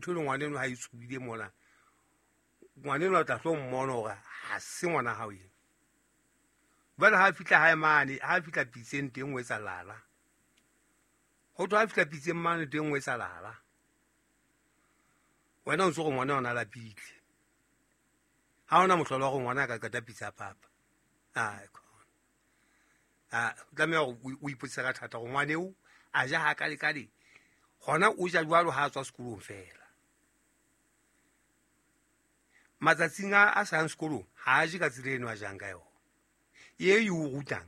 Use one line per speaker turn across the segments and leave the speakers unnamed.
Ntho e le ngwaneno ha e tsubile mona, ngwaneno o tla tlo mmona hore ha se ngwana hao ena. Jwale ha fihla hae mane, ha fihla pitseng teng o etsa lala. Ho thwe ha fihla pitseng mane teng o etsa lala. Wena o ntso re ngwana ona lapile. Ha ona mohlolo wa hore ngwana a ka qeta pitsa papa. Ai khona. A tlameha hore o ipotse ka thata hore ngwana eo a ja ha kale kale. Hona o ja jwalo ha a tswa sekolong fela. Matsatsing a sa yang sekolong ha a je ka tsela eno a jang ka yona. E e o rutang.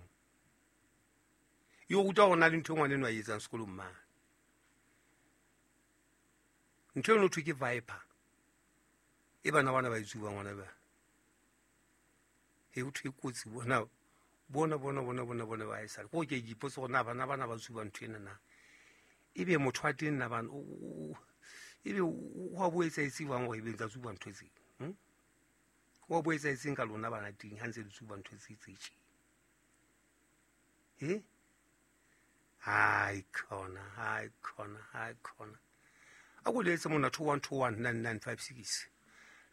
E o ruta hore na le ntho e ngwana eno a e etsang sekolong mane. Ntho eno thwe ke viper. E bana bana ba e tsuba ngwana ba. E o thwe kotsi bona bona bona bona bona bona ba e sale. Ko ke ipotse gore na bana bana ba tsuba ntho ena na. Ebe motho wa teng na bana ebe o a bo etsa etse jwang hore ebe ntsa tsuba ntho tse. O bo etsa etseng ka lona bana teng ha ntse le tsuba ntho tse tse tje. Eh? Hai khona, hai khona, hai khona. A ko letse mona 21219956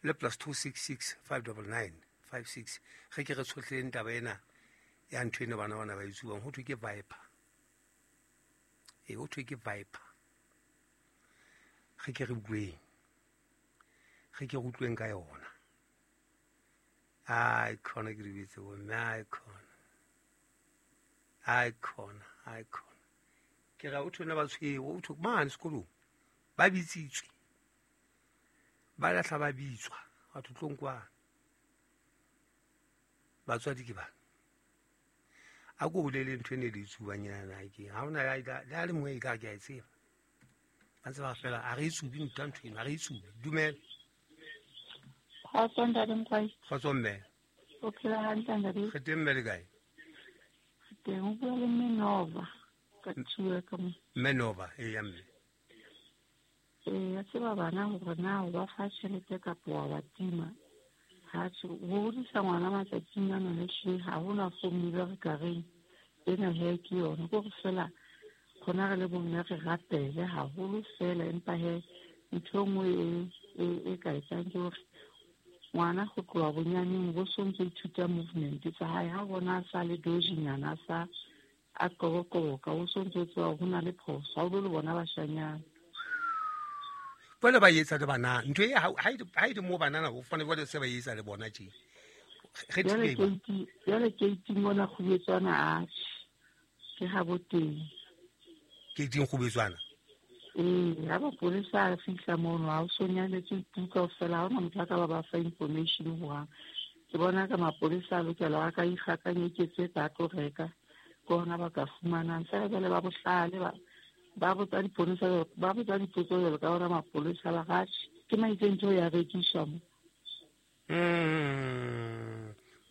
le plus 266 599 56. Re ke re tshohleng taba ena ya ntho ena bana bana ba e tsubang ho thwe ke viper. E ho thwe ke viper. Re ke re utlweng. Re ke re utlweng ka yona. Ai khona ke ribetse bo mme, ai khona. Ai khona, ai khona. Ke ra o thwe ba tshwere, o thwe mane sekolong. Ba bitsitswe. Ba lahla ba bitswa, batho tlong kwana. Batswadi ke bana. A ko bolele ntho ene le tsubang ena ke. Ha hona ya le le mongwe e ka ke a e tseba. Ba ntse ba fela a re e tsubi ntho ntho eno, a re e tsubi. Dumela.
Kgotso ntate Mkwai.
Kgotso mme.
O phela hantle ntate?
Re teng mme le kae?
Re teng, o bua le mme Nova ka tshua ka mo.
Mme Nova, e ya mme.
Ya tseba bana hore na o ba fa tjhelete kapa wa ba tima. Ha tjhe, ho hodisa ngwana matsatsing ana le hle ha hona formula re ka reng ena he ke yona. Ke hore fela rona re le bomme re rapele haholo fela, empa he ntho e nngwe e ka etsang ke hore ngwana ho tloha bonyaneng bo so ntso ithuta movement tsa hae. Ha bona a sa le dojinyana, a sa a qoboqoboka, o so ntso tseba hore ho na le phoso, ha o lo le bona bashanyana.
Jwale ba etsa le bana ntho e ha e le mo banana ho fana jwale se ba etsa le bona tje. Re
Jwale
thibeng ba.
Jwale keiti mona kgubetswana a ke ha bo teng.
Keiting kgubetswana?
Ee, ha mapolesa a fihla mono, ha o so nyaletse tu kaofela, ha hona motho a ka ba ba fa information hohang. Ke bona ka mapolesa a lokela a ka ikgakanyeketse ka tlo reka, ke hona ba ka fumanang. Feela jwale ba bohlale ba botsa diponesa, ba botsa dipotso jwalo ka ona mapolesa ba re, atjhe, ke maitse ntho ya rekiswa mo.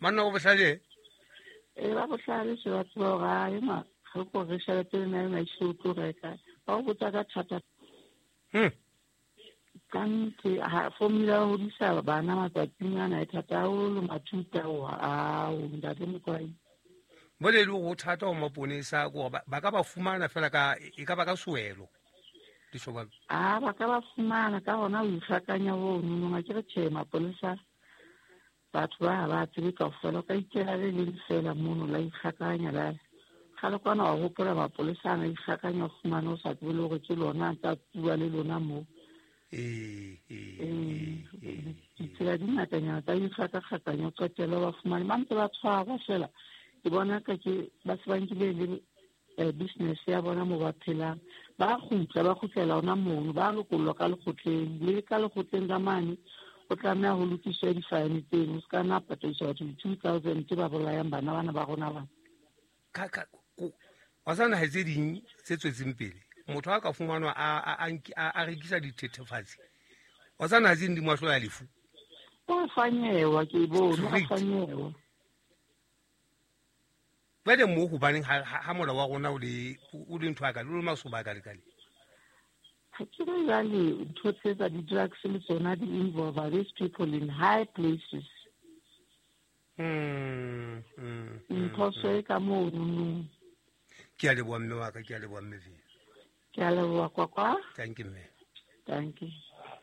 Manna o bohlale?
Ee, ba bohlale se ba tseba hore a ema, re ko re tjhelete ena ena e o tlo reka. Ba o botsa ka thata. Ka nnete, ha formula ya ho hodisa bana matsatsing ana e thata haholo, mathuta ao, ao, ntate Mokwai.
Bole le ho thata ho maponesa ke hore ba ka ba fumana fela ka, e ka ba ka sewelo. Di jwalo.
Ah, ba ka ba fumana ka hona ho ikgakanya ho nonong, a ke re tjhe mapolesa batho ba ha ba tsebe kaofela, o ka ikela le leng fela mono la ikgakanya la kgale kwana wa hopola mapolesa ana ikgakanya o fumane o sa tsebe le hore ke lona a ntsa bua le lona moo. Ditsela di ngatanyana tsa ikgakakgakanya o qetelle ba fumane ba ntse ba tshwarwa fela. Ke bona ka ke ba se ba nkile le business ya bona mo ba phelang. Ba kgutla, ba kgutlela hona mono, ba lokollwa ka lekgotleng. Le ka lekgotleng ka mane o tlameha ho lokiswa di-fine tseno, o se ka nna patadiswa batho di-2,000 tse ba bolayang bana bana ba rona bana.
Wa sa naha tse ding tse tswetseng pele, motho a ka fumanwa a rekisa dithethefatsi, wa sa naha tse ding di mo ahlola lefu.
O fanyewa, ke bone, o
Straight.
fanyewa.
Jwale mo hobaneng ha molao wa rona o le ntho ya ka, le masoba a ka lekale?
Ha ke re jwale ntho tse tsa di-drugs le tsona di involve these people in high places. Mphoso e ka mono.
Ke a leboha mme wa ka, ke a leboha mme Vee.
Ke a leboha kwakwa.
Thank you mme.
Thank you.